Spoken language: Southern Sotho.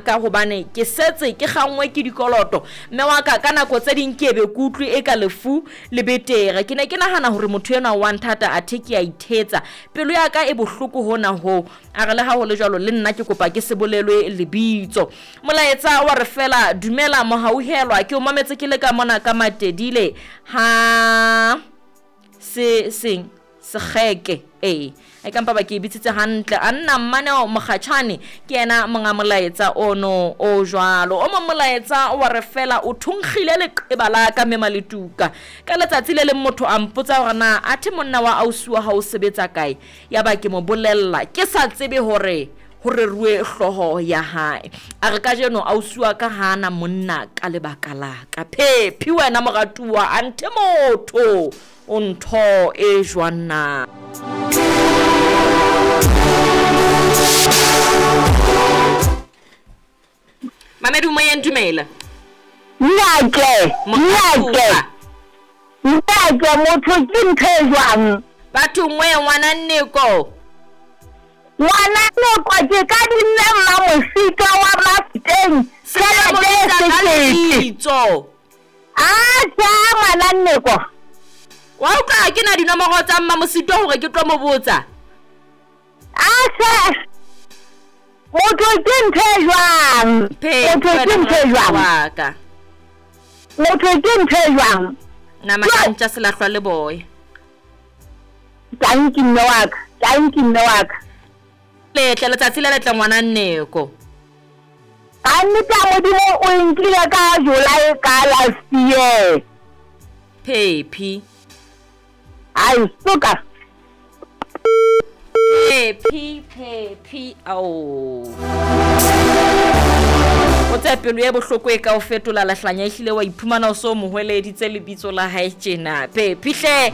Ka hobane ke setse ke kganngwe ke dikoloto. Mme wa ka, ka nako tse ding ke ebe ke utlwe eka lefu le betere. Ke ne ke nahana hore motho enwa wa nthata athe ke a ithetsa. Pelo ya ka e bohloko hona hoo. A re le ha ho le jwalo le nna ke kopa ke se bolelwe lebitso. Molaetsa wa re fela, Dumela Mohauhelwa, ke o mametse ke le ka mona ka Matedile ha se seng sekgeke. Ee, e ka mpa ba ke e bitsitse hantle. A nna Mmaneo Mokgatjhane ke yena monga molaetsa ono o jwalo. O mong molaetsa wa re fela o thonkgile leqeba la ka mme Maletuka. Ka letsatsi le leng motho a mpotsa hore na athe monna wa ausi wa hao o sebetsa kae. Yaba ke mo bolella ke sa tsebe hore ho reruwe hlooho ya hae. A re kajeno ausi wa ka ha a na monna ka lebaka la ka. Phephi wena moratuwa anthe motho o ntho e jwang na? Mamedi o moyeng dumela. Nnake, nnake, nnake motho ke ntho e jwang? Bathong wee ngwana Nneko. Ngwana Nneko ke ka dinne Mmamositwa wa Mafeteng tjhelete e sekete. Lebitso. Atjha ngwana Nneko. Wa utlwa ha ke na dinomoro tsa Mmamositwa hore ke tlo mo botsa. Atjha motho ke ntho e jwang? Motho ke ntho e jwang? Waka. Motho ke ntho e jwang? Nama ya ntja selahlwa le boya. Tanki mme wa ka, tanki mme wa ka. Letle letsatsi le letle ngwana Nneko. Ka nnete ya Modimo o e nkile ka July ka last year. Phephi. Ai suka. Phephi, phephi, ao. O tsaya pelo e bohloko e ka o fetola lehlanya ehlile wa iphumana o so mo hweleditse lebitso la hae tjena. Phephi hle.